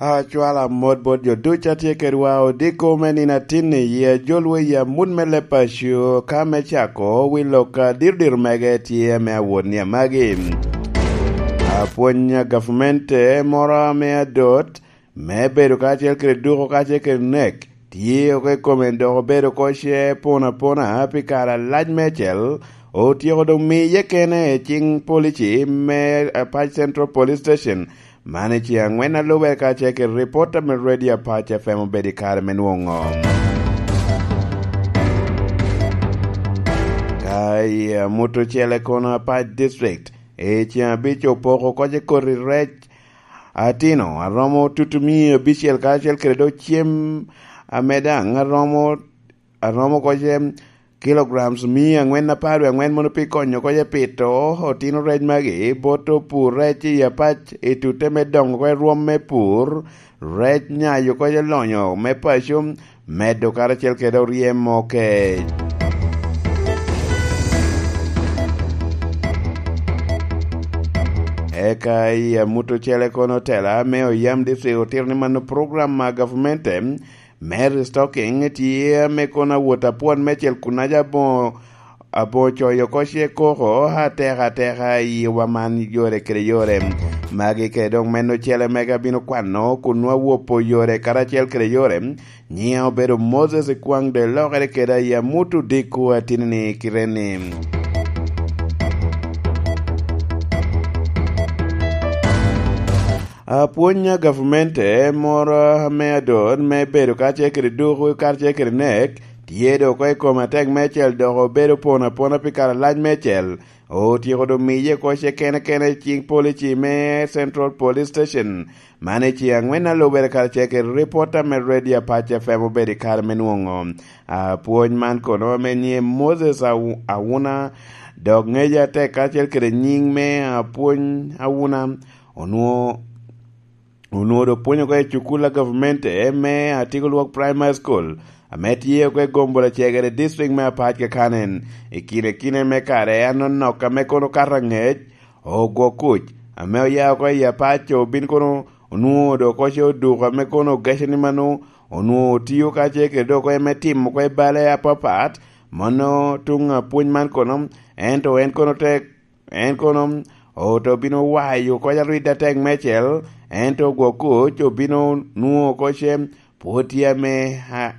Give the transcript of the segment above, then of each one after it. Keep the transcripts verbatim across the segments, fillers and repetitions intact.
Acwalo amot bot jo ducu a tye kedwa odiko me nino atinni, i ajolwa i amut me leb paco, ka me cako wi lok a diro diro mege tye ame awot ni amagi. Apwony a gavmente moro ame adot, me bedo kacel kede duko kacel kede nek, tye oko i kome dok obedo oko ce pon apona pi kare alac meicel, otyeko doŋ miye kene i ciŋ polici me Apac Central Police Station, man i ce aŋwen a lube kacel kede ripota me Radio Apac F M obedo i kare me nwoŋo. Ka i amut ocele kono, Apac District, i ceŋ abic opoko oko ce koti rec atino aromo tutumia abicel, kacel kede dok cem ame daŋ aromo, aromo oko ce kilograms mia aŋwen apar wie aŋwen mono pi konyo oko ce pito otino rec magi bot opur rec i Apac i tute me dongo oko i rwom me pur, rec nyayo oko ce lonyo me paco, medo karacel kede oryem okec. Eka i amut ocele kono, tela me oyam district otito ni mano program a gavmente me restocking tye ame kono awot apwon me cel kun aja aboŋo, aboŋo coyo oko ce koko ateka ateka i wa man yore kede yore. Magi kede dok meno ocele mege abino kwano kun nwa wopo yore karacel kede yore. Nyiŋa obedo Moses Ikwaŋ, dok lokere kede aye amut odiko atini-ni kite-ni. Apwony a gavmente moro ame adot me bedo kacel kede duku kacel kede nek, tye dok oko i kom atek meicel dok obedo pon apona pi kare alac meicel. Otyeko doŋ miye oko ce kene kene i ciŋ polici me Central Police Station, man i ceŋ aŋwen a lubere karacel kede ripota me Radio Apac F M obedo i kare me nwoŋo. Apwony man kono ame nyiŋe Moses Awu-, Awuna, dok ŋece atek karacel kede nyiŋ me Apwony Awuna, onwoŋo, onwoŋo doŋ pwonyo oko i cukul a gavmente me Atigo Lwok Primary School, ame tye oko i Gombolo Cegere, district me Apac kakanen. I kine kine me kare anonok ame kono okato aŋec, ogwo kuc, ame oya oko i Apac obin kono onwoŋo dok oko ce oduko, ame kono ogeco ni mano onwoŋo otio kacel kede dok oko me timo oko i bale apapat, mano tuŋ apwony man kono, ento en kono te, en kono oto bino wayo oko arwidde atek meicel, ento ogwo kuc obino nwoŋo oko ce pwod tye ame, a,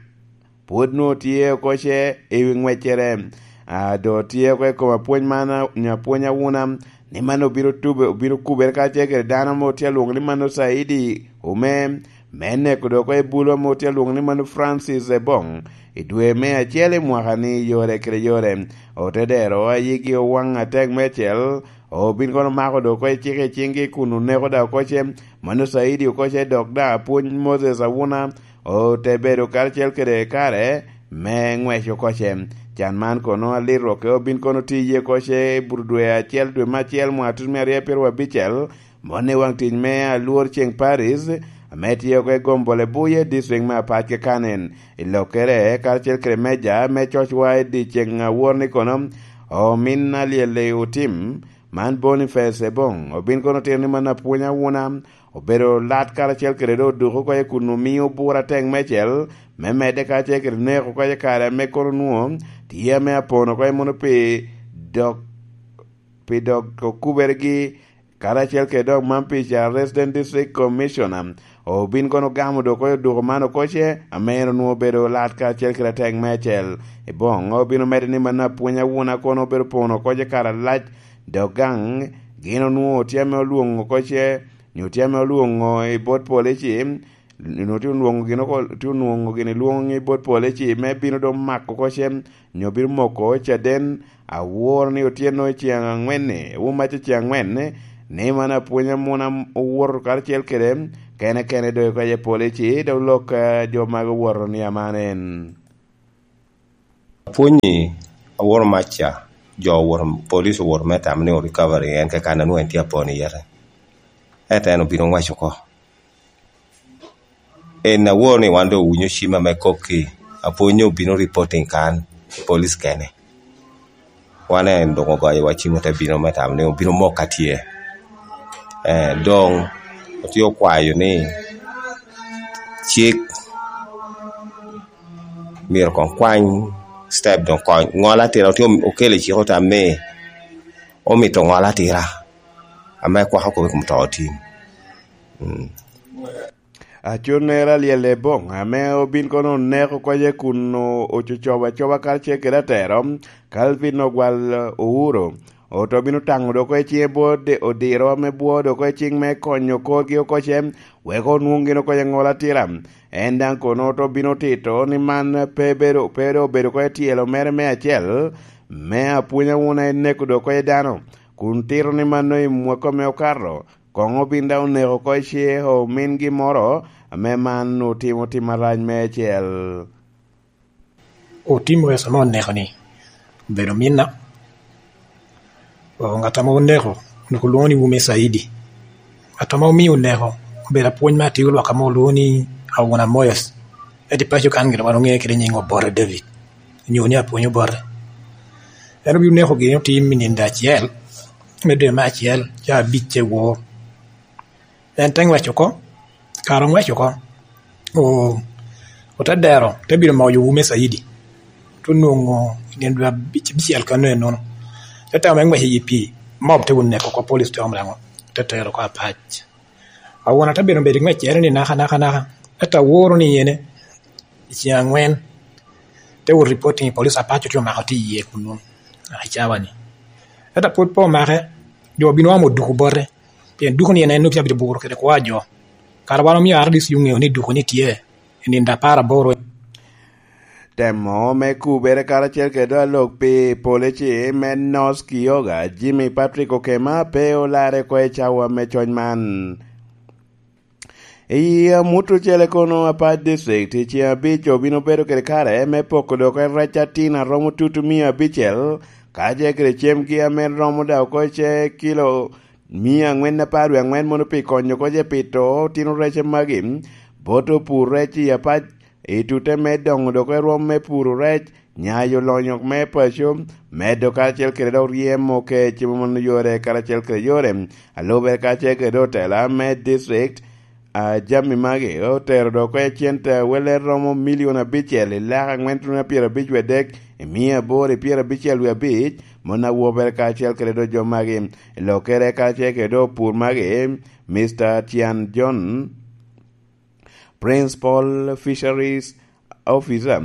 pwod nwoŋo tye oko ce i wi ŋweccere. A, doŋ tye oko i kom apwony man, a, nyo apwony Awuna, ni man obino tube, obino kubere kacel kede dano ame otye alwoŋo ni mano Caidi Ome, me neko doŋ oko i bulu ame otye alwoŋo ni mano Francis Ebong, i dwe me acel i mwaka-ni, yore kede yore. Ote dero ayigi owaŋ atek meicel, obin kono mako doŋ oko i cik i ciŋgi kun oneko daŋ oko ce, mano Caidi oko ce, dok daŋ apwony Moses Awuna ote bedo karacel kede kare me ŋwec oko ce. Can man kono alito oko obin kono tiye oko ce i buto dwe acel, dwe me acel, mwaka tutumia aryo pyeraryo abicel, mon i waŋ tic me Alwor Ceŋ Paris, ame tye oko i Gombole Buye, district me Apac kakanen. I lokkere, karacel kede meja me cocwa i dyeceŋ awor ni kono, omin alyel i otim, man Boniface Ebong, obin kono otito ni mano apwony Awuna, obedo lat karacel kede doŋ oduk oko i kun omio bura atek meicel, me medde karacel kede neko oko i kare ame kono onwoŋo tye ame apon oko i mono pi dok, pi dok okubergi, karacel kede dok man pi ca Resident District Commissioner, obin kono ogamo doŋ oko i oduko man oko ce, ame en onwoŋo obedo lat karacel kede atek meicel. Ebong obino medde ni mano apwony Awuna kono obedo pono oko ce kare alac, dok gaŋ gin onwoŋo tye ame olwoŋo oko ce, nyo tye ame olwoŋo i bot polici, nyo tye onwoŋo gin oko, tye onwoŋo gin i lwoŋo i bot polici me bino doŋ mako oko ce, nyo bino moko caden awor ni otyeno i ceŋ aŋwen-ni, wumac i ceŋ aŋwen-ni, ni man apwony Awuna owoto karacel kede kene kene doŋ oko i polici, dok lok, eh, jo magi owoto ni aman en. Apwony-ni awoto mac ca, jo owoto, police owoto me tamo ni o recovery en keken, a nwoŋo en tye apon i yete. Ento en obino owaco oko. En awor ni wan doŋ owinyo cim ame kok-ki, apwony obino reporting kan, police kene. Wan en doŋ ogoyowa cim, ote bino me tamo ni obino mok ka tye. Eh, doŋ otye okwayo ni Cik myero koŋ kwany step doŋ kony. Ŋol atira otye okelo i cik ota me omito ŋol atira ame kwako kome i kom to otim. Mm. Aconnere alyel Eboŋ, ame obin kono oneko konye kun o-, ococobo acoba karacel kede atero, Calvin Ogwal Ouro, oto bino taŋo dok oko i ciŋe bot de-, odiro ame bwo dok oko i ciŋ me konyo korgi oko ce, wek onwoŋ gin oko i ŋol atira. En daŋ kono oto bino tito ni man pe bedo, pe doŋ obedo oko i tyelo mere me acel, me apwonya wuna en neko dok oko i dano, kun tito ni mano i mwaka me okato, koŋ obin daŋ oneko oko i ce omin gimmoro, ame man otimo tim arac meicel. Otim wesa ame oneko-ni obedo minna. O, ŋat ame oneko, onwoŋo lwoŋo ni Wume Saidi. Ŋat ame omio oneko, obedo apwony me atio lwak ame olwoŋo ni Awuna Moyes. Ento i paco kan gire wan oŋeye kede nyiŋ Obote David, onyo ni apwony Obote. En obin oneko gin otim i nindo acel, me dwe me acel, ca abic ce wor. En te ŋwec oko, kare oŋwec oko, o-, ote dero, te bino mako jo Wume Saidi. Te nwoŋo i nino dwe abic-, abicel kano enono. Te tamo me ŋwec i pii, mob te wun neko oko, police te omo daŋ, te tero oko apac. Awuna te bino bedo i ŋweccere ni naka, naka, naka. Ento aworo ni ene, i ceŋ aŋwen, te wot reporting i police, apac otye omako tye iye kunnu, i cawa-ni. Ento pwod pe omake, jo obin oamo duku bote, pien duku-ni en, en nwoŋo tye abedo buro kede kwo a jo. Kara wan omio R D C oŋeo ni duku-ni tye i nino apar aboro. Temo me kubere karacel kede alok pi polici me North Kyoga, Jimmy Patrick Okema, pe olarre oko i cawa me cony man. I amut ocele kono, Apac District i ceŋ abic obino bedo kede kare me poko dok rec atin a romo tutu mia abicel, kacel kede cemgi ame romo daŋ oko ice kilo mia aŋwen apar wie aŋwen mono pi konyo oko ice pito otino rec magi, bot opur rec i Apac, i tute me doŋo dok i rwom me puro rec, nyayo lonyo me paco, medo karacel kede dok ryemo kec me mono yore karacel kede yore. Alube karacel kede otela me district, a, jami magi otero dok oko i cente welle romo milion abicel i lak aŋwen tuno pyerabic wie dek i mia aboro i pyerabicel wie abic, mon awobere karacel kede dok jo magi. I lokere karacel kede dok pur magi, Mister Tian John, Principal Fisheries Officer,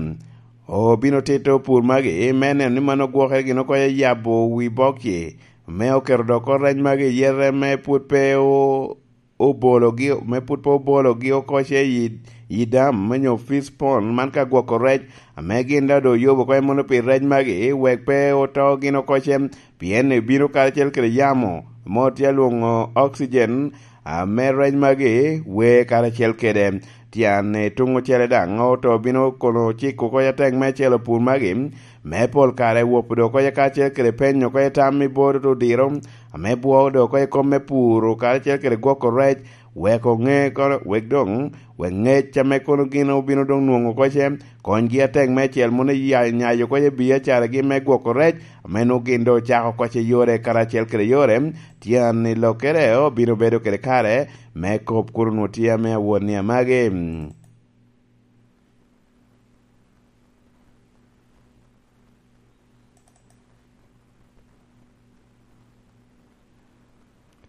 obino tito pur magi me neno ni mano gwokere gin oko yabo wi bokki, me oketo dok oko rec magi i yete me pwod pe o-, obologi, me pwod pe obologi oko ce i, i dam, me nyo fish pond, man ka gwoko rec, ame gin daŋ doŋ oyubo oko mono pi rec magi, wek pe oto gin oko ce, pien ebino karacel kede yamo, mo tye alwoŋo oxygen, ame rec magi wer karacel kede. Tyen i tuŋ ocele daŋ, oto bino kono ciko oko i ateng me celo pur magi, me pol kare wopo dok oko karacel kede penyo oko i tam i bot odiro, ame bwoo dok oko i kom me puro karacel kede gwoko rec, wek oŋe kono, wek doŋ, wek ŋec ame kono gin obino doŋ nwoŋo oko ce, konygi atek meicel mono ya-, nyayo oko i biacaragi me gwoko rec, ame nwoŋo gin doŋ ocako oko ce yore karacel kede yore, tyen i lokere obino bedo kede kare me kop kun onwoŋo tye ame awot ni amagi.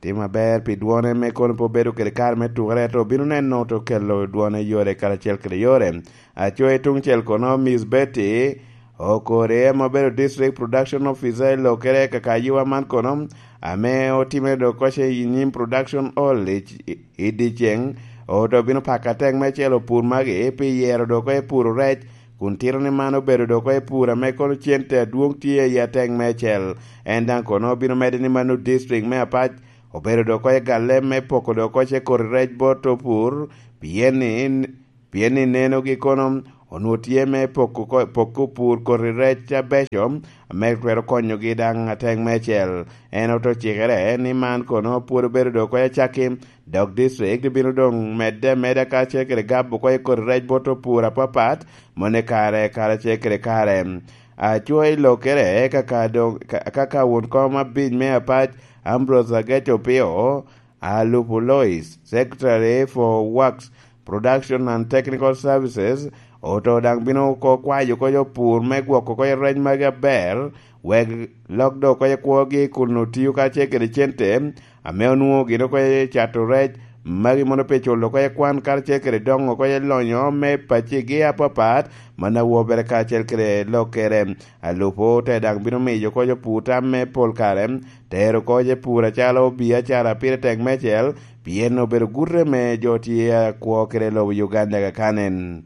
Tim aber pi dwone me kono pe obedo kede kare me tukere, to obino neno to kelo dwone yore karacel kede yore. Aco i tuŋ cel kono, Miss Betty Okore, ame obedo District Production Officer i lokere kaka yiwa man kono, ame otime dok koce i nyim Production Hall i, i, i dyeceŋ, oto bino pako atek me celo pur magi pi yero dok i puro rec, kun tito ni man obedo dok i pur ame kono cente adwoŋ tye i atek me cel. En daŋ kono obino medde ni mano district me Apac obedo dok i galle me poko dok i koti rec bot opur, pien ni, pien ni nenogi kono onwoŋo tye me poko ko-, poko pur koti rec abeco ame twero konyogi daŋ atek me cel. En oto cikere ni man kono pwod obedo dok i acakki, dok district bino doŋ medde ameda karacel kede gabo oko i koti rec bot opur apapat, mone kare karacel kede kare. Aco i lokere kaka doŋ, ka-, kaka won kom abic me Apac, Ambrose Ageco Opio, Alupo Lois, Secretary for Works, Production and Technical Services, oto daŋ bino oko kwayo oko opur me gwoko oko rec magi aber, wek lok dok oko kwogi kun otio kacel kede cente ame onwoŋo gin oko cato rec magi mono pe culo oko kwan karacel kede doŋo oko lonyo me pacigi apapat, man awo bene karacel kede lokere. Alupo te daŋ bino miyo oko opur tam me pol kare, tero oko pur acalo biacara pire tek mecel, pien obedo gute me jo tye akwo kede lobo Uganda kakanen.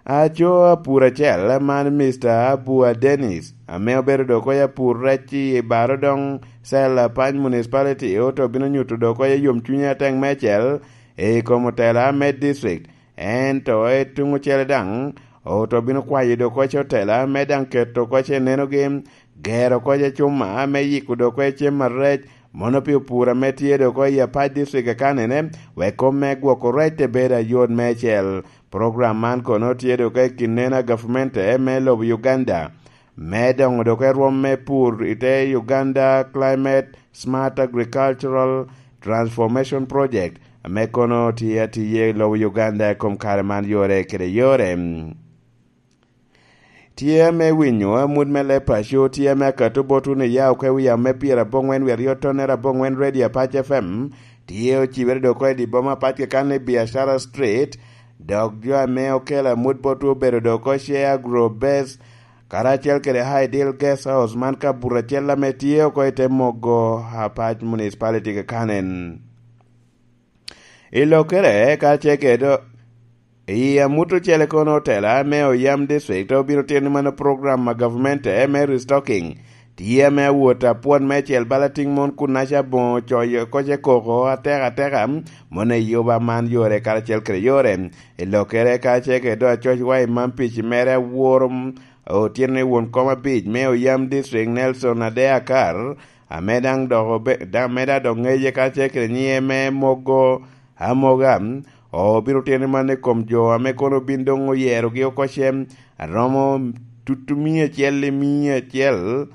Aco apur acel man Mister Abua Dennis, ame obedo dok oko apur rec i Baro Dong Cell Apany Municipality, oto bino nyuto dok oko yomcwinye atek mecel i kom otela me district. Ento i tuŋ ocele daŋ, oto bino kwayo dok oko otela me daŋ keto oko nenogi, gero oko cuma me yiko dok oko cem arec, mono pi opur ame tye dok oko i Apac District akanene, wek kom me gwoko rec te bedo ayot mecel. Program man kono tye dok oko i kin neno a gavmente me lobo Uganda, me doŋo dok oko rwom me pur i te Uganda Climate Smart Agricultural Transformation Project, ame kono tye atiye i lobo Uganda i kom kare man yore kede yore. Tye ame winyo amut me leb paco, tye ame akato botwu ni ya oko i wi yamo me pyeraboŋwen wiye aryo tonnere aboŋwen Radio Apac F M, tye ocibere dok oko i di boma apac keken i Biashara Street, dok jo ame okelo amut botwu obedo dok oko Share Agro Base, karacel kede Ideal Guest House man ka buto acel ame tye oko i te mogo Apac Municipality kakanen. I lokere, ka ce kede i amut ocele kono otela me Oyam District obino tyen ni mano program a gavmente me restocking. Tye ame awot apwon me cel bala tiŋ mon kun aca boŋo coyo koce koko ateka ateka, mon eyuba man yore karacel kede yore. I lokere ka ce kede acoc wa i man pici mere aworo, otyeno i won kom abic me Oyam District Nelson Adea Akar, ame daŋ dok obe-, daŋ ame daŋ dok ŋeye ka ce kede nyiŋe me mogo amoga, obino tyen ni man i kom jo ame kono obin doŋ oyerogi oko cem, aromo tutu mia acel i mia acel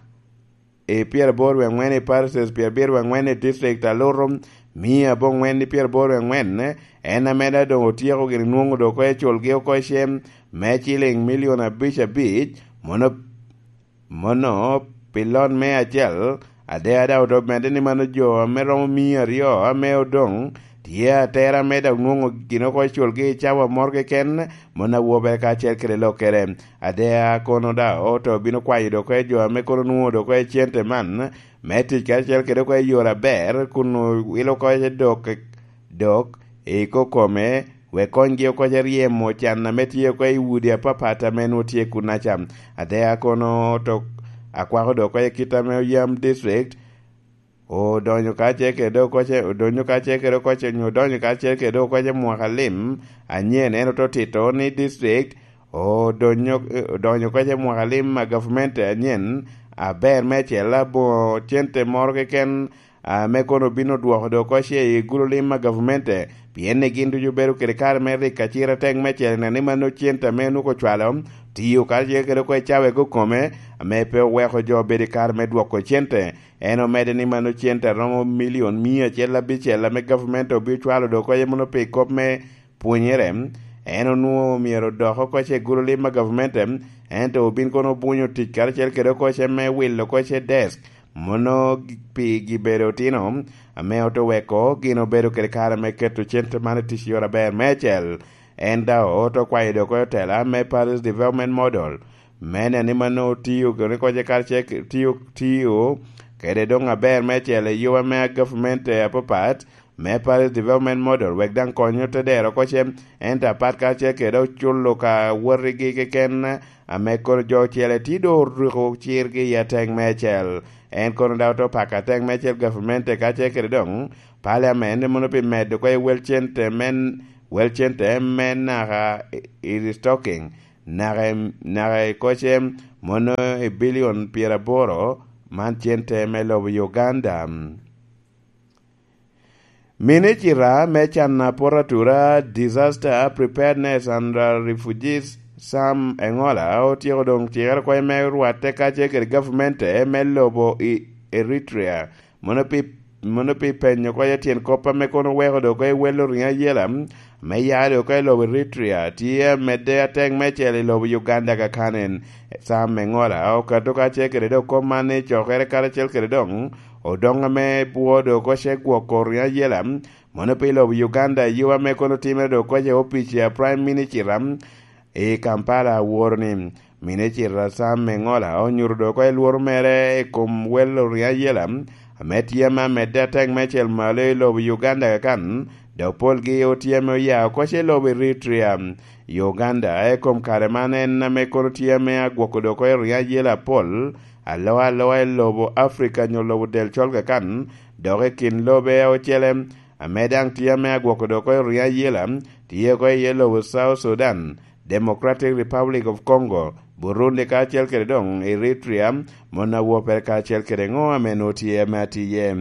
i pyeraboro wie aŋwen i parishes, pyerabiro wie aŋwen i district aluto, mia aboŋwen i pyeraboro wie aŋwen, en ame daŋ doŋ otyeko gin nwoŋo dok oko eculgi oko cem me ciliŋ milion abic abic, mono Mono, pi lon me acel, Adea daŋ oto medde ni mano jo ame romo mia aryo ame odoŋ tye atera me daŋ nwoŋo gin oko i culgi i cawa moro keken, mon awobere kacel kede lokere. Adea kono daŋ oto bino kwayo dok oko i jo ame kono nwoŋo dok oko i cente man, me tic kacel kede oko i yore aber, kun owilo oko i dok, dok, i kokome, wek konygi oko ca ryemo can ame tye oko i udi apapat ame nwoŋo tye kunnaca. Adea kono tok akwako dok oko i kit ame Oyam District odonyo kacel kede oko ce, odonyo kacel kede oko ce, onyo odonyo kacel kede oko ce mwaka lim anyen, en oto tito ni district odonyo, odonyo oko ce mwaka lim a gavumenti anyen aber me acel aboŋo cente moro keken ame kono obin odwoko dok oko ce i gulu lim a gavumenti, pien ni gin ducu obedo kede kare me rik acir atek me cel, neno ni mano cente ame onwoŋo ocwalo, tiyo karacel kede oko i cawa i kokome, ame pe oweko jo obedo i kare me dwoko cente. En omedde ni mano cente aromo milion mia acel abicel ame gavumenti obin ocwalo dok oko ce mono pi kop me pwonyere, en onwoŋo myero odok oko ce gulu lim a gavumenti, ento obin kono obunyo tic karacel kede oko ce me wilo oko ce desk, mono gi-, pi gibedo otino, ame oto weko gin obedo kede kare me keto cente man i tic yore aber me acel. En daŋ oto kwayo dok oko otela me Parish Development Model, me neno ni mano otiyo kede oko ce karacel ke-, tiyo, tiyo kede doŋ aber me acel i yuba me gavumenti apapat, me Parish Development Model, wek daŋ konyo te dero oko cem, ento apat karacel kede oculo ka wotigi keken, ame kono jo ocele tye doŋ oruko cirgi i atek me acel. En kono daŋ oto pako atek me acel gavumenti kacel kede doŋ Parliament, mono pi medo oko i wel cente men, wel cente me naka i, i restocking, naka i, naka i oko cem, mono i bilion pyeraboro man cente me lobo Uganda. Minicita me can aporatura, Disaster Preparedness and, uh, Refugees, Sam Engola, otyeko doŋ cikere oko me rwatte kacel kede gavumenti me lobo i Eritrea. Mono pi, mono pi penyo oko tyen kop ame kono oweko dok oko i wel oriŋo ayela, me ya dok oko i lobo Eritrea tye amedde atek meicel i lobo Uganda kakanen. Sam Mengola okato kacel kede dok kop man ni cokere karacel kede doŋ odoŋ ame bwo dok oko ce gwoko riŋo ayela mono pi lobo Uganda i yo ame kono timere dok oko ce opic a Prime Minister i Kampala aworo ni Minicita Sam Mengola onyuto dok oko lworo mere i kom welo riŋo ayela ame tye ame amedde atek meicel malo i lobo Uganda kakan, dok polgi otye ame oya oko ce lobo Eritrea. Uganda i kom kare man en ame kono tye ame agwoko dok oko riŋo ayela apol aloa aloa i lobo Africa nyo lobo del col kakan, dok i kin lobe ocele ame daŋ tye ame agwoko dok oko riŋo ayela tye oko iye lobo South Sudan, Democratic Republic of Congo, Burundi kacel kede doŋ Eritrea, mon a wopere kacel kede ŋo ame nwoŋo tye ame atiye.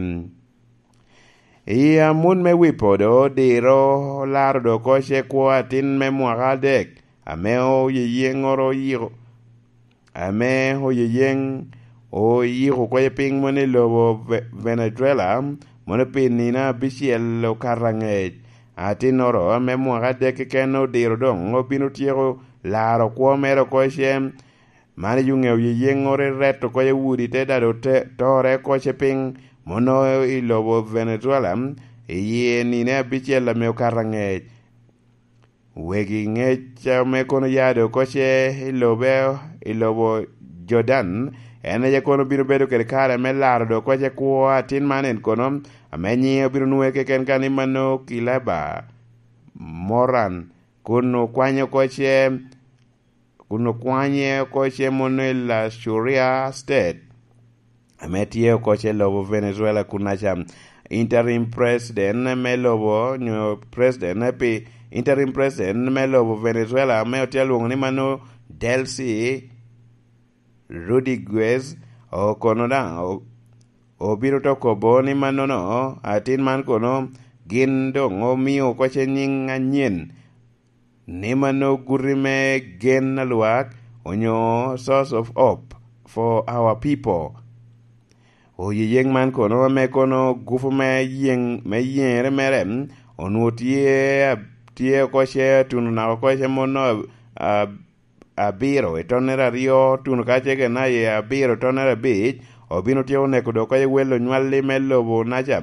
I amut me wi podo, diro olaro dok oko ce kwo atin me mwaka adek, ame oyeyeŋoro oyiko, ame oyeyeŋ oyiko oko piny mono i lobo Ve-, Venezuela, mono pi nino abicel okato aŋec. Atinnoro ame mwaka adek keken odiro doŋ obino tyeko laro kwo mere oko ce. Man i ŋeo yeyeŋŋoro i reto oko i udi te dado te, tore oko ce piny, mono i lobo Venezuela, i nino abicel ame okato aŋec. Wegi ŋec ame kono ya dok oko ce i lobe, i lobo Jordan, en aye kono bino bedo kede kare me laro dok oko ce kwo atin man en kono, ame nyiŋe obino nwoŋe keken ka ni mano Kilaba Moran, kun okwanyo oko ce, kun okwanye oko ce mono i La Shuria State, ame tye oko ce lobo Venezuela kun aca. Interim president me lobo, nyo president pi, interim president me lobo Venezuela ame otye alwoŋo ni mano Delcy Rodriguez okono daŋ o-, obino to kobo ni mannono, atin man kono gin doŋ omio oko ce nyiŋ anyen, ni mano guti me gen a lwak, onyo source of hope for our people. Oyeyeŋ man kono ame kono gupu me yeŋ, me yeŋere mere, onwoŋo tye a-, tye oko ce atuno naka oko ce mono a-, a-, abiro i tonnere aryo, tuno ka ce kena i abiro tonnere abic, obino tyeko neko dok oko ce wel onywalli me lobo naca,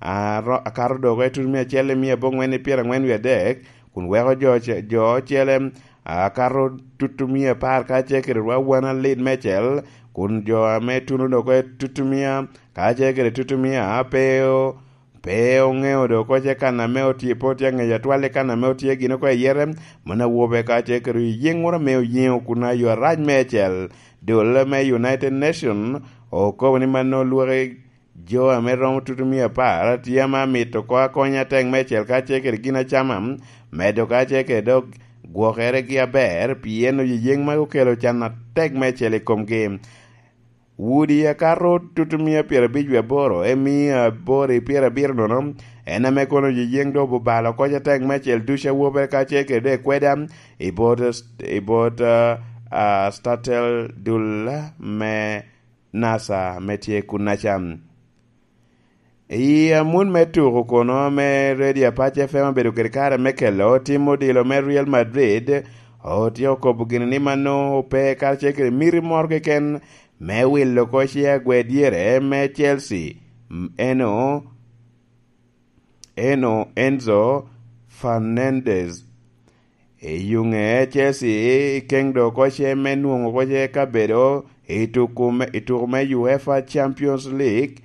a ro-, akato dok oko i tuno mia acel i mia aboŋwen i pyeraŋwen wie adek, kun weko jo oce-, jo ocele, a, akato tutumia apar kacel kede rwawan alit meicel, kun jo ame tuno dok oko i tutumia kacel kede tutumia pe o-, pe oŋeo dok oko ce kan ame otye, pe otye aŋeyo atwal i kan ame otye gin oko i yete, mano awobe kacel kede oyeŋ woro ame oyeŋo kun ayo arac meicel. Dul me United Nation okobo ni mano lwaki jo ame romo tutumia apar tye ame amito oko akony atek meicel kacel kede gin acama, medo kacel kede dok gwokeregi aber, pien oyeyeŋ magi okelo can atek meicel i komgi. Udi akato tutumia pyerabic wie aboro, i mia aboro i pyerabiro nono, en ame kono oyeyeŋ dok obalo oko ce atek meicel ducu awobe kacel kede dok kweda i bot, i bot, ah, ah, Statel Dul me NASA ame tye kunnaca. I amut me tuko kono ame Radio Apac F M obedo kede kare me kelo tim odilo me Real Madrid, otye okobo gini ni mano ope karacel kede miti moro keken me wilo oko ce agwer dyere me Chelsea, m-, eno, eno Enzo Fernandez. I yuŋe Chelsea ikeŋ dok oko ce me nwoŋo oko ce kabedo i tuku me, i tuku me UEFA Champions League,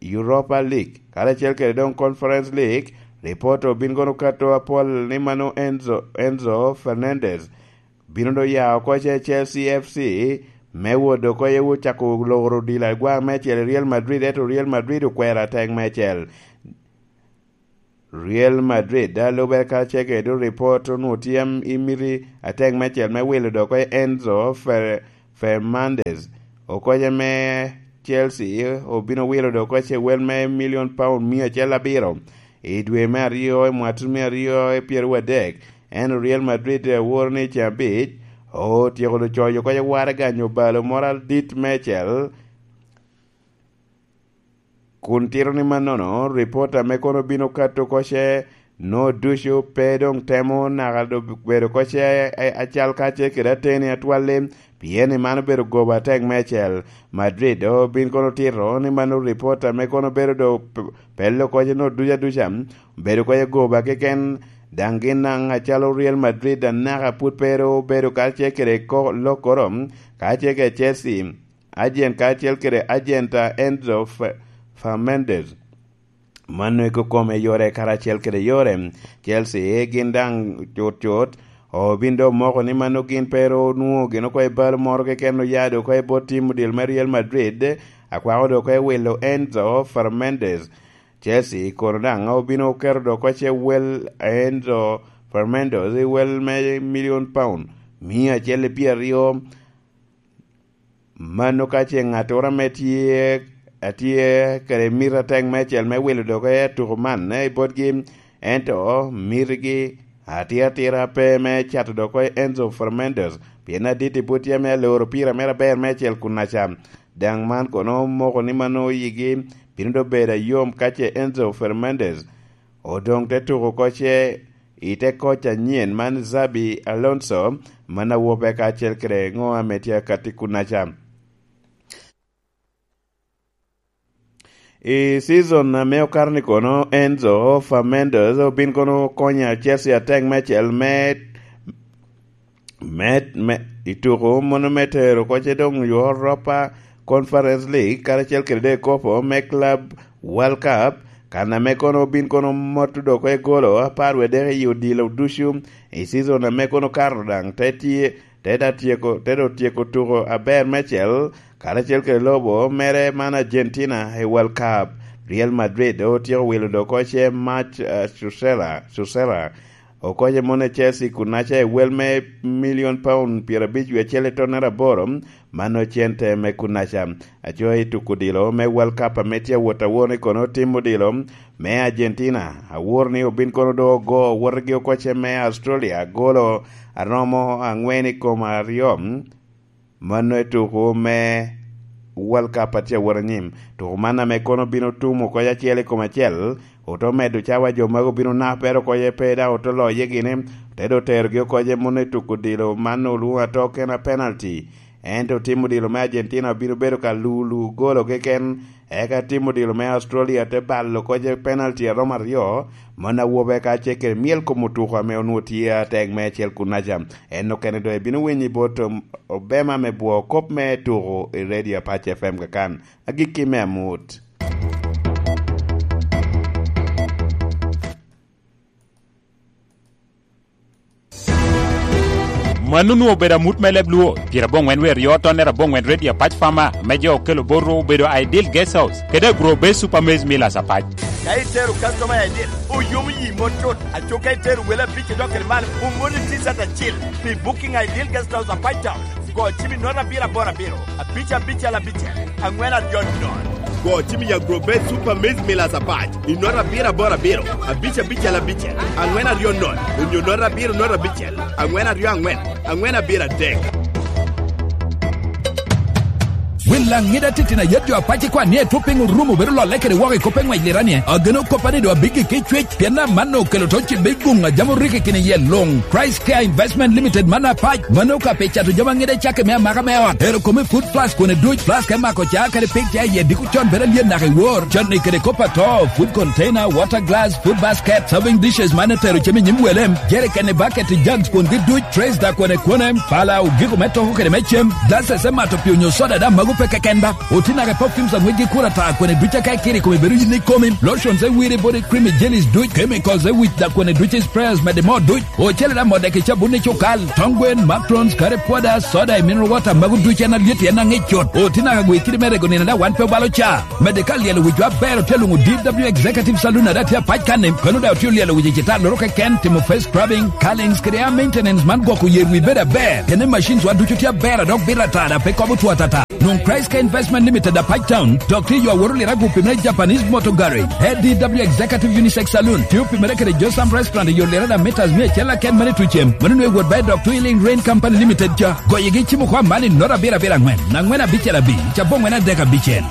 Europa League, karacel kede doŋ Conference League. Ripot obin kono kato apol ni mano Enzo, Enzo Fernandez bino doŋ ya oko ce Chelsea F C me wot oko ye wot cako loro odilo agwa meicel i Real Madrid, ento Real Madrid okwero atek meicel. Real Madrid, a lube ka ce kede ripot, onwoŋo tye i miti atek meicel me wilo dok oko Enzo Fer-, Fernandez. Okoce me Chelsea obino wilo dok oko ce wel me milion paun mia acel abiro i dwe me aryo, i mwaka tutumia aryo i pyeraryo adek. Ento Real Madrid, aworo ni i ceng abic, otyeko doŋ coyo oko ce waraga nyo balo moro adit meicel. Kun tito ni mannono, ripot ame kono bino kato oko ce Nwoŋo ducu pe doŋ temo naka do-, bedo kocce a-, a-, acal kacel kede ateni atwal-li, pien i man obedo goba atek meicel. Madrid doŋ obin kono otito ni mano ripot ame kono bedo do p-, pello kocce nwoŋo ducu aduca, obedo kocce goba keken, daŋ gin daŋ acalo Real Madrid anaka pwod pe ru obedo kacel kede ko-, lokkoro, kacel kede Chelsea, agent kacel kede agent a Enzo Fe-, Fernandez. Mano eko kome yore karacel kede yore. Chelsea gin daŋ cut cut obin doŋ moko ni mano gin pe ru onwoŋo gin oko i bal moro keken oya doŋ oko i bot tim odil me Real Madrid, akwako doŋ oko i wilo Enzo Fernandez. Chelsea kono daŋ obino oketo doŋ oko ce wel Enzo Fernandez i wel me milion pound mia acel i pyeraryo. Mano ka ce ŋattoro ame tye, a tye kede mito atek meicel me wilo doge i tuko man, eh, i botgi, ento mitigi atira atira pe me cato doge i Enzo Fernandez, pien adit i bot tye ame aloro pira mere aber meicel kun aca. Daŋ man kono moko ni mano yigi bino doŋ bedo ayom ka ce Enzo Fernandez odoŋ te tuko oko ce i te koc anyen man Xabi Alonso, man awope kacel kede ŋo ame tye akatti kunnaca. I season ame okato ni kono, Enzo Fernandez obin kono konyo Chelsea atek meicel me, me, me, i tuko mono me tero kocce doŋ Europa Conference League karacel kede dee kopo me Club World Cup, kan ame kono obin kono moto doko i golo apar wie dek i odilo ducu i season ame kono kato daŋ te tye, te da tyeko, te do tyeko tuko aber meicel karacel kede lobo mere man Argentina i World Cup. Real Madrid doŋ otyeko wilo doŋ oko ce Mac, eh, Susela, Susela. Okoce mono i Chelsea kunnaca i wel me milion pound pyerabic wie acel i tonnere aboro, mano cente me kunnaca. Aco i tuko odilo me World Cup ame tye awot awot ni kono tim odilo me Argentina, awor ni obin kono doŋ ogo wotgi okoce me Australia golo aromo angwen i kom aryo. Mano i tuko me World Cup a tye awot anyim. Tuko man ame kono bino tumo kony acel i kom acel, ote medo cawa jo magu bino napere oko ye pe daŋ ote loye gini, te do terogi oko ye mano i tuko odilo man olwoŋo ato kena penalty. Ento tim odilo me Argentina obino bedo ka lulu golo keken, eka tim odilo me Australia te balo oko ye penalty aromo aryo, mano awobe ka ce kede myel kom otuko ame onwoŋo tye atek me acel kunnaca. En okene doŋ ebino winyo i bot, um, obema me bwo kop me tuko i Radio Apac F M kakan. Agikki me amut. Mano onwoŋo obedo amut me leb Luo, pyeraboŋwen wie aryo tonnere aboŋwen Radio Apac Farmer, me jo okelo bot ru obedo Ideal Guest House, kede Agro Base Super Maize Millers Apac. Ka itero customer Ideal, oyomo yi mot cut, aco ka itero wele abic idok kede malo, omoni T-shirt acil pi Booking Ideal Guest House Apac Town. Go cim i note abiro aboro abiro, abic abicel abicel, angwen aryo nono. Go cim i Agrobet Super Maize Millers Apac i note abiro aboro abiro, abic abicel abicel, angwen aryo nono, onyo note abiro note abicel, angwen aryo angwen, angwen abiro adek. Wil aŋida titino a yet jo Apac ikwan ni etwop piny orumo bedo lolle kede woko i kop pe ŋwec liranie. Ageno koppa ni doŋ abiggi ki cwec, pien amanno okelo to cibbe i guŋ a jami orikki kine iye luŋ. Christ Care Investment Limited man Apac, mano ka pe cato jami aŋida cakke me amaka me ot. Ero kome food flask kone duc, flask me mako ca kadi pig ca iye diko con bedo alyen naka i wor. Canni kede kop ato, food container, water glass, food basket, serving dishes man etero cem i nyim wele, jerikeni, bucket, jugs kungi duc, trays da kone kone, pala, ogiko me toko kede me cem, glasses me mato pii onyo soda da magu pe keken ba. Oti naka perfumes aŋwec gi kura ta kone duc aka ikiri kome bedo yin ikomi, lotions e wiri body creamy jellies duc, chemicals e wic da kone duc sprayers mede mo duc. Ocele da modde ki cabun i cukal, tong gwen, macarons, curry powder, soda, mineral water, magu ducu en alyet en aŋic cut. Oti naka gwi kidi me rego nino da wan pe obalo ca. Mede ka lyelo wicwa aber otye luŋo D W Executive Saloon ada tye apac kanni, kano da otye olyelo wic i citar loro keken, timo face scrubbing, curlings, kede air maintenance man gwoko yer wi bedo aber. Kene machines wa ducu tye aber a dok bito ata da pe kobo two atata. Nwoŋ Christ Care Investment Limited Apac Town, dok tye yo aworo lira gupi me Japanese Motor Garage, A D W Executive Unisex Saloon, tye opimere kede Josam Restaurant i yo lira da meters mia acel aken mene tucem, mano nwe wot ba i dok Twilling Rain Company Limited ca. Goyigi cimo kwa man i nota abiro abiro angwen, angwen abicel abic, cabo angwen adek abicel.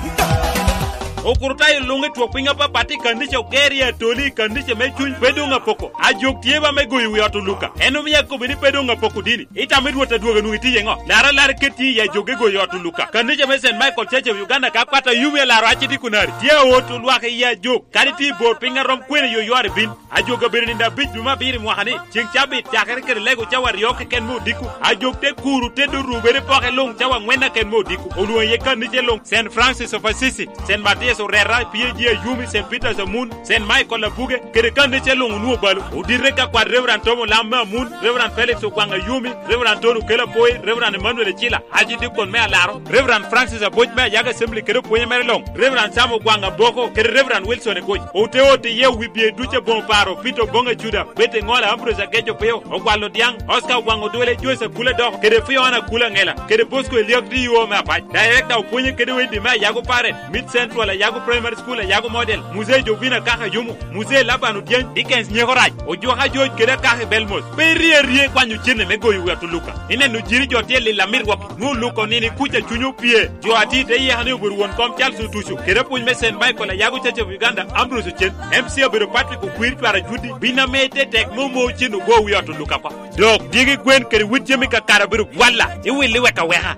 Okurutayo luŋ i twok piny apapat i kannica oger i atoli i kannica me cuny pe doŋ apoko. Ajok tye ba me goyo wi ot oluka. En omio akobbi ni pe doŋ apoko dini. Itamo i Rwot adwogo nwoŋo itye iŋo? Lar alar iket tye i ajok i goyo ot oluka. Kannica me Saint Michael Church of Uganda ka kwat ayumi alaro aci dikunari. Tye aot olwak i ajok. Kadi tye i bor piny arom kwene yo yware bin. Ajok abedo nino abic dwe me abiro i mwaka ni. Ceng cabit cakere kede lego cawa aryo keken me odiko. Ajok te kuru te dorubere poke luŋ cawa angwen aken me odiko. Olwoŋo iye kannice luŋ, Saint Francis of Assisi, Saint Matthias Orera, P A G Ayumi, Saint Peter's Amun, Saint Michael Abuge, kede kannice luŋ onwoŋo balo. Odite ka kwat Reverend Tom Olam me Amun, Reverend Felix Ogwang Ayumi, Reverend Tony Okello Apoi, Reverend Emmanuel Ecila, Archdeacon me Alaro, Reverend Francis Aboc me Ayago Assembly kede opwonye mere luŋ, Reverend Sam Ogwang Aboko, kede Reverend Wilson Egoc. Ote ote iye wi bye ducu aboŋo paro, Peter Oboŋ Acuda, Betty Ŋola, Ambrose Ageco Peo, Ogwal Odiaŋ, Oscar Ogwang Odwele, Joyce Akula Doko, kede Fiona Akula Ŋela, kede Bosco Eliak D O me Apac. Director opwonye kede wende me Ayago Parent, Mid Central, Ayago Primary School, Ayago Model, Muzee Jovina Kaka Yumu, Muzee Laban Odyany, Dickens Nyeko Rac, Ojuka George kede Akaka i Belmos. Pe irye arye i kwanyo cene me goyo wi ot Oluka. Ineno jiri jo tye lil amit wok, nwoŋo Oluka onino i kuca cuny opye. Jo a tye i te yeka ni obedo won kom Charles Otuco, kede apwony me Saint Michael Ayago Church of Uganda, Ambrose Ocen, M C obedo Patrick Okwir Cwara Judi, bin ame te tek me omo cen ogo wi ot Oluka oko. Dok dyegi gwen kede wit jami kakare obedo bwalla, iwilli wek aweka.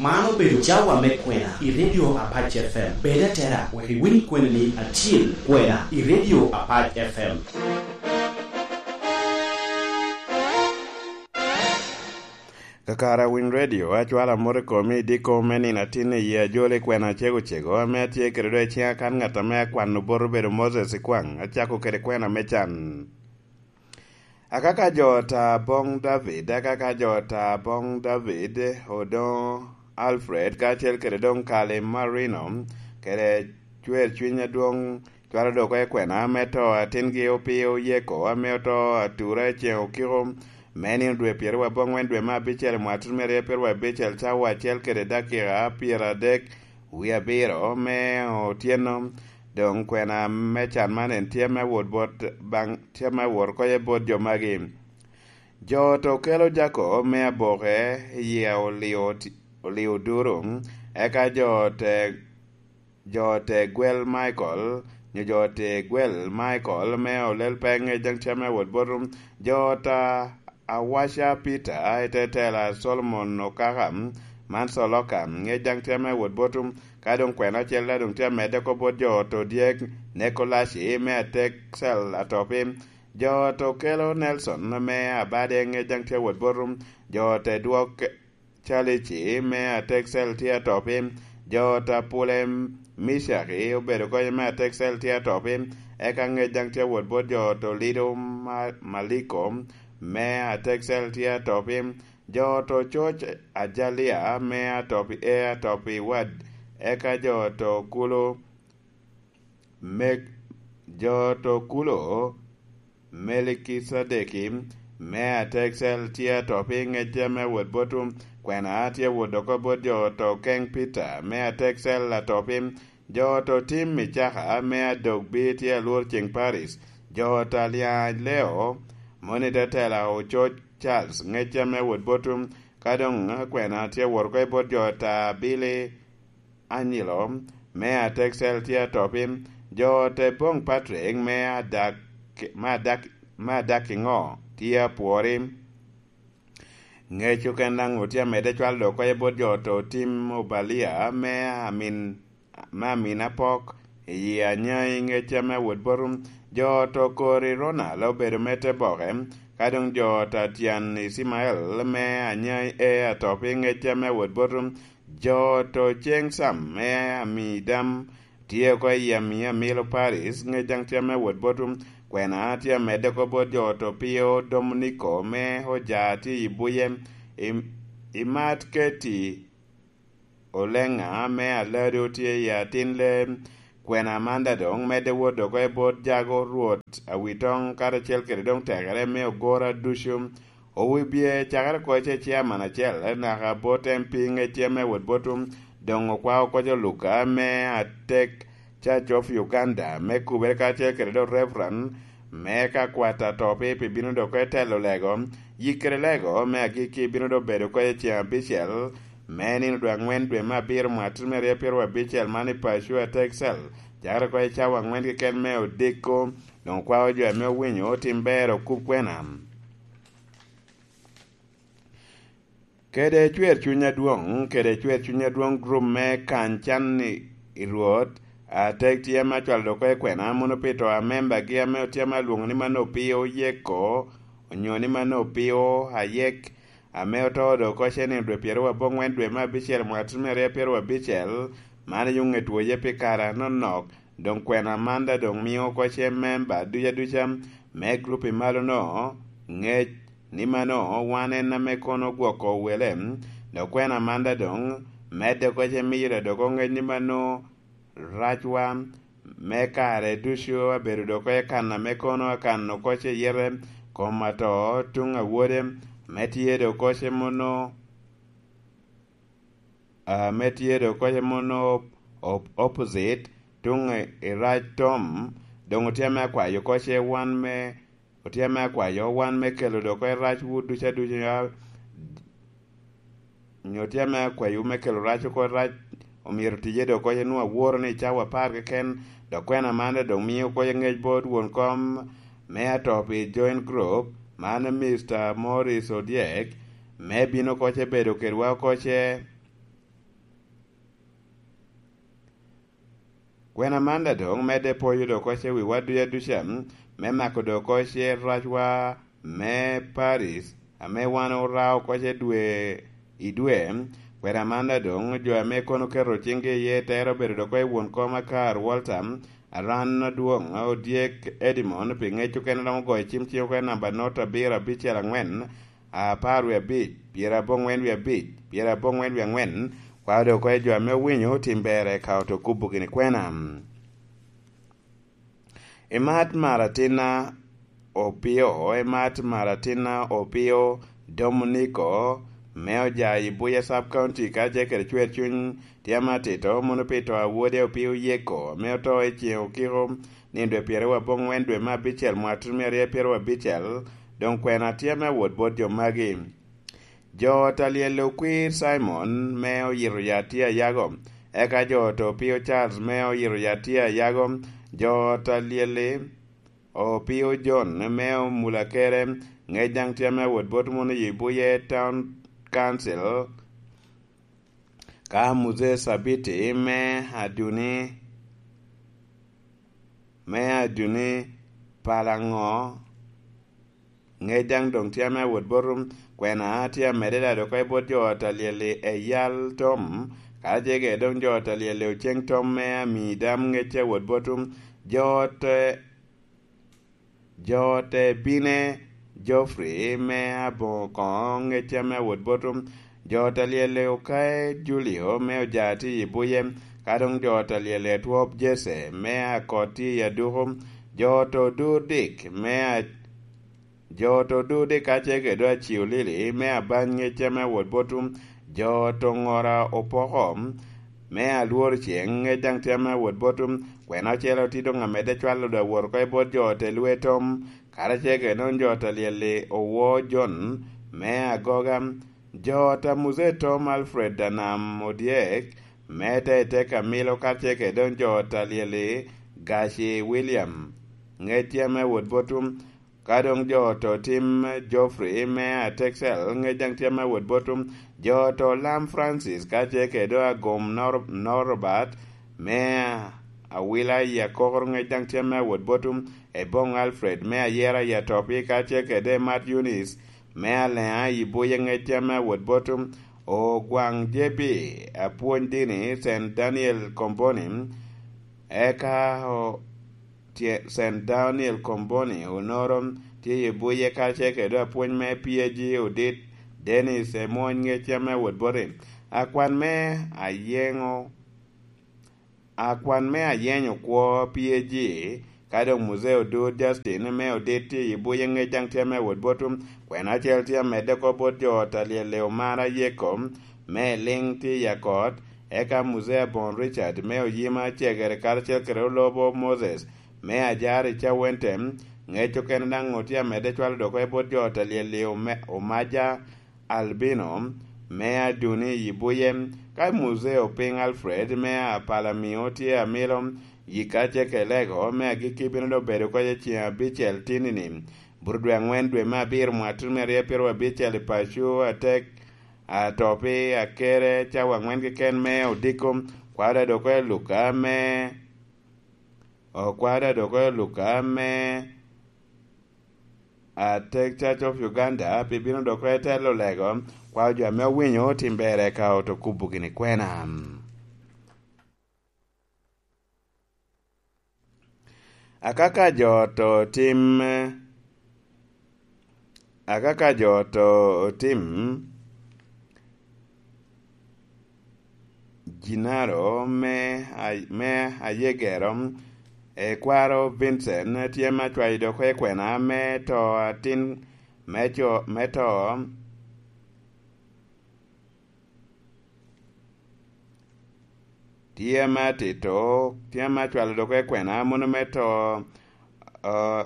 Man obedo cawa me kwena i Radio Apac F M. Bed atera wek iwiny kweni acil kwena i Radio Apac F M. Kakare a Winy Radio, acwalo amot i komi i diko me nino atin i yi ajol i kwena acego cego ame atye kede do i ciŋa kan ŋat ame akwano bot obedo Moses Ikwaŋ, acako kede kwena me can. Akaka jo ta boŋ David, akaka jo ta boŋ David, Odoŋo Alfred, kacel kede doŋ Kali Marino, kede cwer cwiny adwoŋ, cwalo dok oko i kwena, ame to atingi opio Yeko, ame oto atura i ceŋ okiko, me nino dwe pyeraryo aboŋwen dwe me abicel i mwaka tutumere pyeraryo abicel, cawa acel kede dakika pyeradek wie abiro me otyeno. Doŋ kwena me can man en tye me wot bot baŋ, tye me wot oko iye bot jo magi. Jo te okelo jako me aboke i yie olio ti-, olio duru, eka jo te, jo te gwel Michael, nyo jo te gwel Michael me olel peny i jaŋ tye me wot bot jo ta Awaca Peter, i te tela Solomon Okaka, man Soloka, ŋec daŋ tye me wot bot, ka doŋ kwena acel daŋ doŋ tye amedde oko bot jo oto dyek, Nekolaci me atek cel atopi, jo oto kelo Nelson me abade, ŋec daŋ tye wot bot, jo te dwok Calici me atek cel tye atopi, jo oto apule Micaki obedo konyo me atek cel tye atopi, eka ŋec daŋ tye wot bot jo oto Lido Ma-, Maliko me atek cel tye atopi, jo oto coc Ajalia me atopi, e atopi wad, eka jo oto kulo me, jo oto kulo Melikicedeki me atek cel tye atopi, ŋecce me wot bot kwena tye wot oko bot jo oto keŋ Peter me atek cel atopi, jo oto tim i caka me adogbi tye alwor ceŋ Paris, jo oto alyaŋ leo moni te tela ococ Charles, ŋecce me wot bot ka doŋ kwena tye wot oko i bot jo oto abili Anyilo me atek cel tye atopi, jo te boŋ Patrick me adak, me adak, me adak iŋo tye apwori. Ŋec oken daŋ otye amedde cwalo dok oko i bot jo oto tim Obalia me amin, me amin apok i yi anyai ŋecce me wot bot jo oto kori Ronald obedo me te boke, ka doŋ jo oto atyan Icimael me anyai e atopi ŋecce me wot bot jo oto ceŋ Sam me ami dam tye oko i ami amilo Paris, ŋec daŋ tye me wot bot kwena tye amedde oko bot jo oto Pio Dominiko me oja tye i buye, i, i mat keti Oleŋa me alado tye i atin le kwena Amanda doŋ medde wot oko i bot jago Rwot Awitoŋ karacel kede doŋ tekere me ogora ducu. Owibye cakere oko i ce ciaman acel naka bot M P ŋecce me wot bot doŋ okwao koc oluka me atek Church of Uganda me kubere karacel kede doŋ Reverend me ka kwat atop i pi bino dok oko i telo lego, yikkere lego me agikki bino dok bedo oko i ceŋ abicel me nino dwe aŋwen dwe me abiro mwaka tutumia aryo pyeraryo abicel man i Pacua, Texas, cakere oko i cawa aŋwen keken me odiko. Doŋ okwao jo ame owinyo otim ber okub kwena. Kede cwer cuny adwoŋ, kede cwer cuny adwoŋ, gurup me kany can i, i Rwot, atek tye ame acwalo dok oko i kwena, mono pi to a membagi ame otye ame alwoŋo ni mano Opio Yeko, onyo ni mano Opio Ayek, ame oto dok oko cen i dwe pyeraryo aboŋwen dwe me abicel mwaka tutumia aryo pyeraryo abicel, man i Oŋet Woye pi kare anonok. Doŋ kwena man daŋ doŋ mio oko ce memba duca duca me gurup i malo-no ŋec ni mano wan en ame kono ogwoko wele, dok kwena man daŋ doŋ medde oko ce miyo daŋ dok oŋec ni mano racwa me kare ducu abedo dok oko i kan ame kono akan oko ce yete kom ato tuŋ awode, me tye dok oko ce mono ame tye dok oko ce mono op-, op-, opposite tuŋ i, i rac tom, doŋ otye ame akwayo oko ce wan me, otye ame akwayo wan me kelo dok oko i racwu duca duca, nyo tye ame akwayo me kelo rac oko i rac, omyero tije dok oko ce nwoŋo aworo ni i cawa apar keken, dok kwena man daŋ doŋ mio oko ce ŋec bot won kom me ato pi Joint Group, man Mister Morris Odyek, me bino oko ce bedo kedwa oko ce. Kwena man daŋ doŋ medde poyo dok oko ce wiwa duca duca, me mako dok oko ce racwa me Paris, ame wan ora oko ce dwe i dwe. Kwena man daŋ doŋ jo ame kono keto ciŋgi iye tero bedo dok oko i won kom Akar Walter, Aran Adwoŋ, Odyek Edmond, pi ŋec okene romo goyo cim cik oko i namba not abiro abicel aŋwen, apar wie abic, pyerabongwen wie abic, pyerabongwen wie aŋwen, kwao dok oko i jo ame owinyo otim ber eka oto kubo gini kwena. Imat Maratina Opio, imat Maratina Opio Dominiko, me oja i Buya Sub County, ka ce kede cwer cuny tye ame atito, mono pi to a wode Opio Yeko, ame oto i ceŋ okiko, nino dwe pyeraryo aboŋwen dwe me abicel mwaka tutumia aryo pyeraryo abicel, doŋ kwena tye ame awot bot jo magi. Jo ot a lyel okwir Cimon, me oyito ya tye ayago, eka jo ot Opio Charles, me oyito ya tye ayago, jo ot a lyel-li Opio John, me omula kere, ŋec daŋ tye ame awot bot mono i Buye Town Council, ka Muzee Sabiti, me Aduni, me Aduni Palaŋo, ŋec daŋ doŋ tye ame awot bot kwena tye amedde daŋ dok oko i bot jo ot a lyel-li Eyal Tom, ka ce kede doŋ jo ot a lyel-li Oceng Tom me Amidam, ŋec tye awot bot jo ot, jo ot Ebine Geoffrey me Aboŋo Koŋo, ŋec tye ame awot bot jo ot a lyel-li Okae Julio me Ojati i Buye, ka doŋ jo ot a lyel-li Atwop Jesse me Akot tye i Aduku, jo ot Odur Dick me a-, jo ot Odur Dick ka ce kede Aciolili me Abany, ŋec tye ame awot bot jo ot Oŋora Opoko me Alwor Ceŋ, ŋec daŋ tye ame awot bot kwena ocele otye doŋ amedde cwalo dok awot oko i bot jo ot Elwe Tom, karacel kede doŋ jo ot a lyel-li Owo John me Agoga, jo ot a Muzee Tom Alfred Anam Odyek me Teitei Kamilo, karacel kede doŋ jo ot a lyel-li Gaci William, ŋec tye ame awot bot ka doŋ jo ot Otim Geoffrey me Atexel, ŋec daŋ tye ame awot bot jo ot Olam Francis, karacel kede doŋ Agom Nor-, Norbert me Awila i Akokoro, ŋec daŋ tye ame awot bot Eboŋ Alfred me Ayera i Atopi, karacel kede Mat Eunice me Aleŋa i Buye, ŋec tye ame awot bot Ogwaŋ J B, apwony dini Saint Daniel Komboni, eka o-, tye-, Saint Daniel Komboni, Onoro tye i Buye, karacel kede apwony me P A G Odit Dennis Emony, ŋec tye ame awot boti. Akwan me Ayeŋo, akwan me Ayeŋo kwo P A G, ka doŋ Muzee Odur Justin me Odit tye i Buye, ŋec daŋ tye ame awot bot kwena acel tye amedde oko bot jo ot a lyel-li Omara Yeko me Eliŋ tye i Akot, eka Muzee Aboŋo Richard me Oyima Cegere karacel kede Olobo Moses me Ajar i Cawente, Ŋec okene daŋ otye amedde cwalo dok oko i bot jo ot a lyel-li ome-, Omaja Albino me Aduni i Buye, ka Muzeo Piny Alfred me Apalamio tye amilo yika ceke lego me agikki bino dok bedo kɔc i ceŋ abicel tinni-ni. Bur dwe aŋwen dwe me abiro mwatun me aryo pyeraryo abicel i paco atek atopi akere cawa aŋwen keken me odiko, kwaro dok oko i Luka me, o, kwaro dok oko i Luka me atek Church of Uganda, pi bino dok oko i telo lego, kwaro jo ame owinyo tim berre ka oto kubo gini kwena. Akaka jo to tim, akaka jo to otim, Jinaro me, me Ayegero, e kwaro Vincent tye ma cwayo dok i kwena me to atin me co, me to tye ma tito, tye ma cwalo dok i kwena mono me to, o,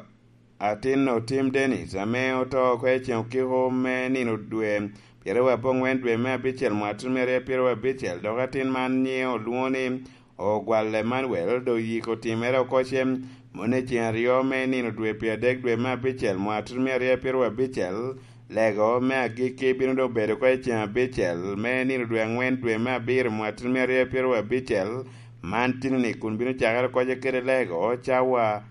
atin Otim Dennis, ame oto oko i ceŋ okiko me nino dwe pyeraryo aboŋwen dwe me abicel mwatun me aryo pyeraryo abicel, dok atin man nyiŋe olwoŋo ni Ogwal Emmanuel, dok yiko timere oko cem, mono i ceŋ aryo me nino dwe pyeradek dwe me abicel mwatun me aryo pyeraryo abicel, lego me agikki bino dok bedo oko i ceŋ abicel me nino dwe aŋwen dwe me abiro mwatun me aryo pyeraryo abicel, man tinni kun bino cakere oko kede lego cawa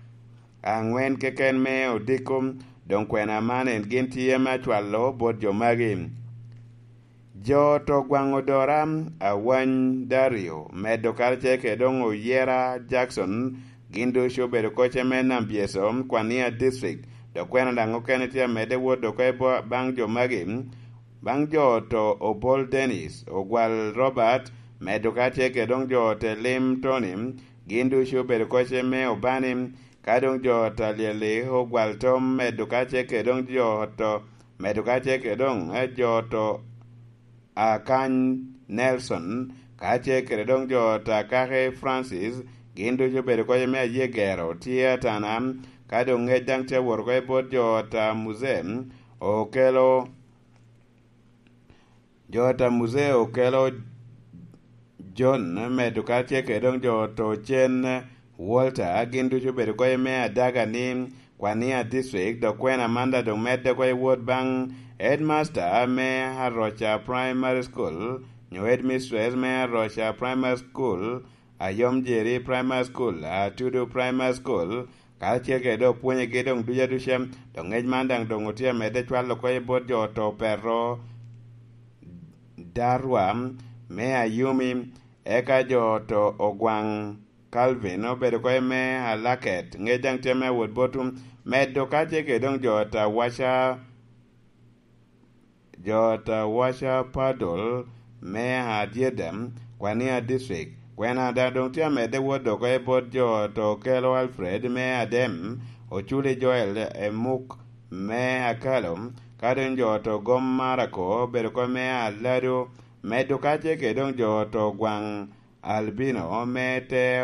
aŋwen keken me odiko. Doŋ kwena man en gin tye me acwalo bot jo magi. Jo to gwaŋ odora, Awany Dario, medo karacel kede doŋ Oyera Jackson, gin ducu obedo kocce me Nambyeso, Kwania District, dok kwena daŋ okene tye amedde wot dok i bo-, baŋ jo magi, baŋ jo to Obol Dennis, Ogwal Robert, medo karacel kede doŋ jo to Elim Tony, gin ducu obedo kocce me Obani, ka doŋ jo to Alyeli, Ogwal Tom, medo karacel kede doŋ jo to, medo karacel kede doŋ, eh, jo to Akany Nelson, kacel kede doŋ jo ot Akaki Francis, gin ducu obedo kocce me Ayegero, tye Atana, ka doŋ ŋec daŋ tye awot oko i bot jo ot a Muzee, okelo, jo ot a Muzee okelo John, medo kacel kede doŋ jo ot Ocen Walter, gin ducu obedo kocce me Adaga ni Kwania District, dok kwena man daŋ doŋ medde oko i wot baŋ headmaster me Aroca Primary School, nyo headmistress me Aroca Primary School, Ayom Jerry Primary School, Atudu Primary School, kacel kede doŋ opwonyegi doŋ duca duca. Doŋ ŋec man daŋ doŋ otye amedde cwalo oko i bot jo oto Petro Darwa me Ayumi, eka jo oto Ogwaŋ Calvin obedo oko i me Alaket, ŋec daŋ tye me wot botum, medo kacel kede doŋ jo ot Awaca, jo ot Awaca Padol me Adyedem, Kwania District. Kwena daŋ doŋ tye amedde wot dok oko i bot jo ot Okelo Alfred me Adem, Oculi Joel Emuk me Akalo, ka doŋ jo ot Ogom Marako obedo oko me Alado, medo kacel kede doŋ jo ot Ogwaŋ Albino me te,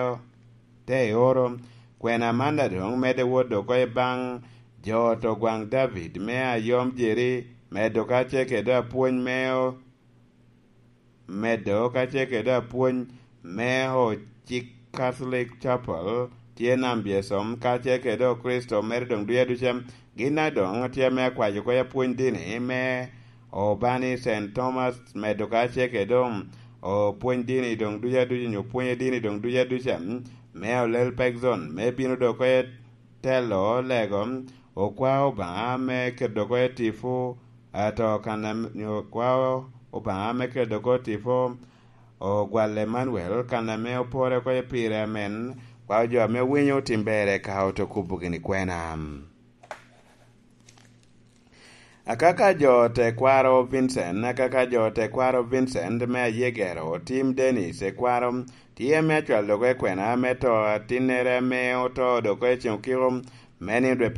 te oro. Kwena man daŋ doŋ medde wot dok oko i baŋ jo ot Ogwaŋ David me Ayom Jerry, medo kacel kede apwony me o-, medo kacel kede apwony me Ocik Catholic Chapel, tye Nambyesom, kacel kede Okricito mere doŋ duca duca. Gin daŋ doŋ tye me akwaco oko i apwony dini me Obani Saint Thomas, medo kacel kede doŋ opwony dini doŋ duca duca, nyo pwonye dini doŋ duca duca, me Olel Pekzon, me bino dok oko i telo lego, okwao Obaŋa me keto dok oko i tipo, ato kan am-, nyo okwao Obaŋa me keto dok oko i tipo, Ogwal Emmanuel, kan ame opore oko i pire amen, kwao jo ame winyo otim berre ka oto kubo gini kwena. Akaka jo tekwaro Vincent, akaka jo tekwaro Vincent me Ayegero, Tim Dennis ekwaro, tye me acwal dok ekwena me to atinnere ame oto dok ecen okiko, me nino dwe